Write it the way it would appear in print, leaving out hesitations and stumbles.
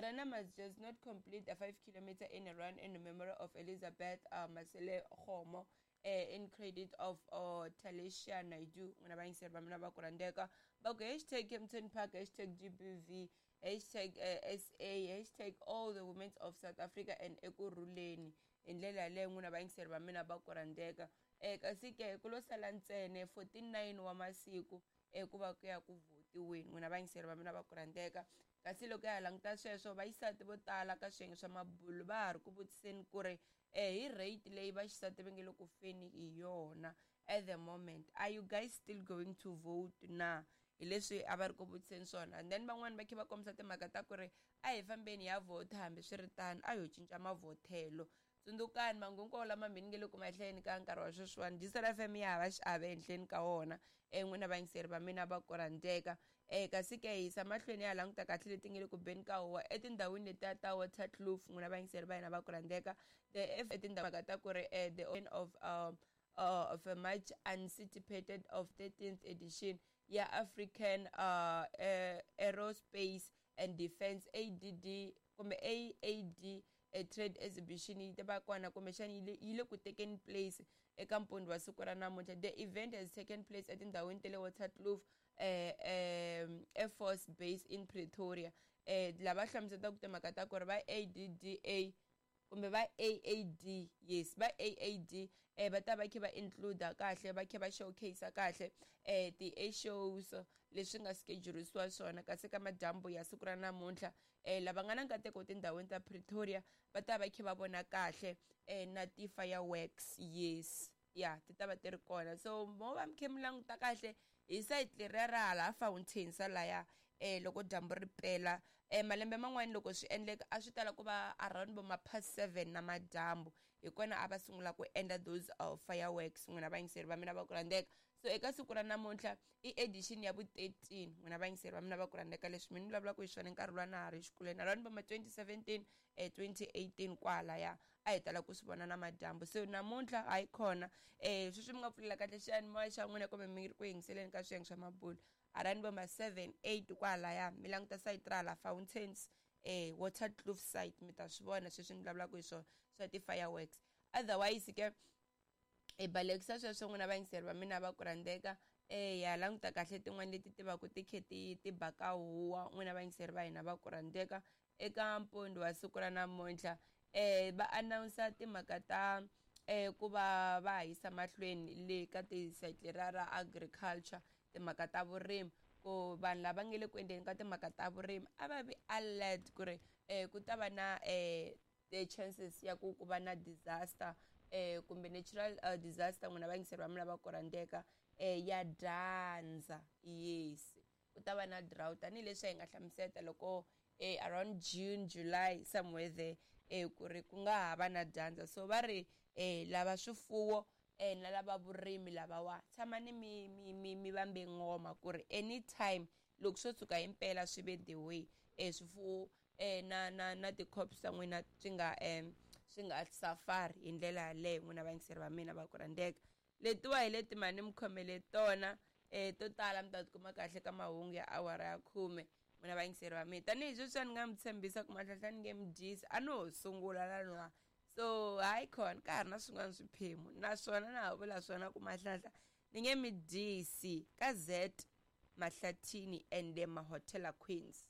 The runner must just not complete a 5 kilometer in a run in memory of Elizabeth Masele Kgomo in credit of Talisha Naidu. N'wina vayingiseri va mina va ku rhandzeka, va ku hashtag Kempton Park, hashtag GBV, hashtag SA, hashtag all the women of South Africa and Ekurhuleni. Hi ndlela yaleyo, n'wina vayingiseri va mina va ku rhandzeka, kasi ke ku lo sala ntsena 49 wa masiku ku va ku ya ku votiweni, n'wina vayingiseri va mina va ku rhandzeka. Kasi loko ya ha languta sweswo, vaxisati vo tala ka swiyenge swa mabulo va ha ri ku vutiseni ku ri hi rate leyi vaxisati va nge le ku feni hi yona at the moment, are you guys still going to vote na? Hi leswi a va ri ku vutiseni swona. And then van'wani va khe va kombisa timhaka ta ku ri a hi fambeni ya vhota, hambi swi ri tano a ho cinca mavhotelo. Tsundzukani mahungu hinkwawo lama mi nge le ku mahleni ka nkarhi wa sweswiwani, Gisel FM ya hava xiave ehenhleni ka wona, n'wina vayingiseri va mina va ku rhandzeka. Kasi ke hi yisa mahlweni ya languta kahle leti nge le ku beni ka huwa etindhawini letiya ta Waterkloof, n'wina vayingiseri va hina va ku rhandzeka. The F etindhawini ta ku ri the of a much anticipated of 13th edition ya African Aerospace and Defence ADD kumbe AAD a trade exhibition yi ta va kona, kumbexana yi le ku tekeni place eka mpundzu wa siku ra namuntlha. The event has taken place etindhawini ta le Waterkloof Air Force Base in Pretoria. Lava hlamuselaka timhaka ta ku ri va ADDA kumbe va AAD, yes, va AAD va ta va kha va include kahle, va kha va showcase kahle ti-air shows leswi nga schedulisiwa swona. Kasi ka madyambu ya siku ra namuntlha, lava nga na nkateko tindhawini ta Pretoria va ta va kha va vona kahle na ti-fireworks, yes, ya ti ta va ti ri kona. So mo va mi kha mi languta kahle hi side leriya ra hala Fountain salaya, loko dyambu ri pela, malembe man'wani loko swi endleka a swi tala ku va around vo ma past 7 na madyambu, hi kona a va sungula ku endla those fireworks, n'wina vayingiseri va mina va ku rhandzeka. So eka siku ra namuntlha i edition ya vu 13, n'wina vayingiseri va mina va ku rhandzeka. Leswi mi ni vulavulaka hi swona, nkarhi luwa na ha ri xikolweni, around vo ma 2017, 2018 kwalaya, a hi tala ku swi vona na madyambu. So namuntlha hayi khona, sweswi mi nga pfulela kahle xiyanimoya xa n'wina kumbe mi ri ku yingiseleni ka swiyenge swa mabulo, around vo ma 7, 8 kwalaya, mi languta site ra hala Fountains, Waterkloof site, mi ta swi vona sweswi ni vulavulaka hi swona swa ti-fireworks. Otherwise ke hi balekisa sweswo, n'wina vayingiseri va mina va ku rhandzeka. Ya languta kahle tin'wani leti tivaka ti khe ti baka huwa, n'wina vayingiseri va hina va ku rhandzeka. Eka mpundzu wa siku ra namuntlha, va announce timhaka ta ku va va yisa mahlweni le ka ti-site leriya ra agriculture, timhaka ta vurimi, ku vanhu lava nge le ku endleni ka timhaka ta vurimi a va vi alert ku ri ku ta va na the chances ya ku va na disaster kumbe natural disaster, n'wina vayingiseri va mina va ku rhandzeka, ya dyandza. Yes, ku ta va na drought, tanihileswi hi nga hlamuseta loko around June, July, somewhere there, ku ri ku nga ha va na dyandza. So va ri lava swifuwo na lava vurimi lavawa, tshamani mi vambe ngoma ku ri anytime loko swo tshuka himpela swi ve the way, swifuwo na ti-crops ta n'wina swi nga safari hi ndlela yaleyo, n'wina vayingiseri va mina va ku rhandzeka. Letiwa hi leti mani mi khomele tona, to tala mi ta tikuma kahle ka mahungu ya awara ya 10, n'wina vayingiseri va mina. Tanihi sweswi a ni nga mi tshembisa ku Mahlahla ni nge mi dyisi, a no ho sungula laniwa, so hayi khona ka ha ri na swin'wana swiphemu, naswona na ha vula swona ku Mahlahla ni nge mi dyisi ka Z Mahlathini and the Mahotela Queens.